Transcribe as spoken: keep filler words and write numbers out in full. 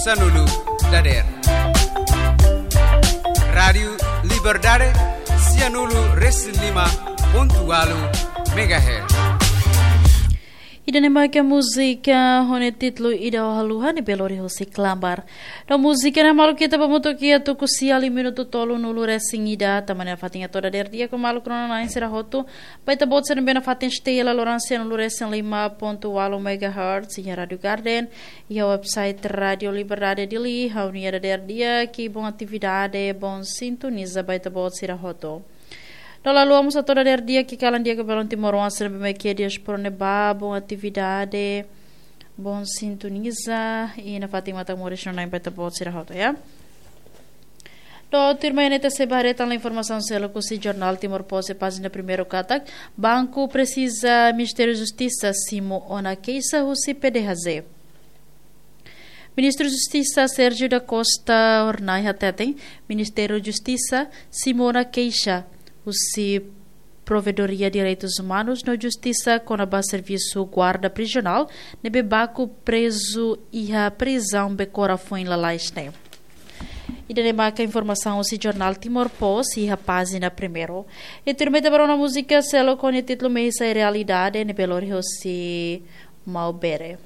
Sanulu dader. Rádiu Liberdade, sianulu resin lima pontu walu megahertz. Ida-ne'e maka múzika ho nia títulu Ida Haluha ne'ebé lori husi Klambar. No múzika ne'e maluk ita ba mutu kia tuku sia liu minutu tolunulu resin ida, tanba ne'e fatin atu dader di'ak ho maluk rona-na'in sira hotu, ba ita-boot sira ne'ebé nafatin esteia la loran sianulu resin lima pontu walu megahertz, iha Rádiu Garden, iha website Rádiu Liberdade Dili, ha'u-nia dader di'ak, bom atividade, bom sintoniza ba ita-boot sira hotu. No la haluha mós atu dader di'ak kalan di'ak ba belun timoroan sira ne'ebé mak iha diáspora ne'ebá, bom atividade, bom sintoniza, i nafatin matak moris no nain ba ita-boot sira hotu, ya. No tuirmai ne'e ita sei ba haree tan informasaun seluk husi jornál Timor Post iha pájina primeiru katak, banku presiza Ministériu Justisa simu ona keixa husi P D H J. Ministru Justisa Sérgio da Costa Hornai hateten, Ministériu Justisa simu ona keixa husi Provedoria Direitus Umanus no Justisa kona-ba servisu guarda prizionál ne'ebé baku prezu iha prizaun Becora foin lalais ne'e. Ida-ne'e maka informasaun husi jornál Timor Post iha pájina primeiru. I tuirmai ita ba rona múzika seluk ho nia títulu Mehi Sai Realidade ne'ebé lori husi Maubere.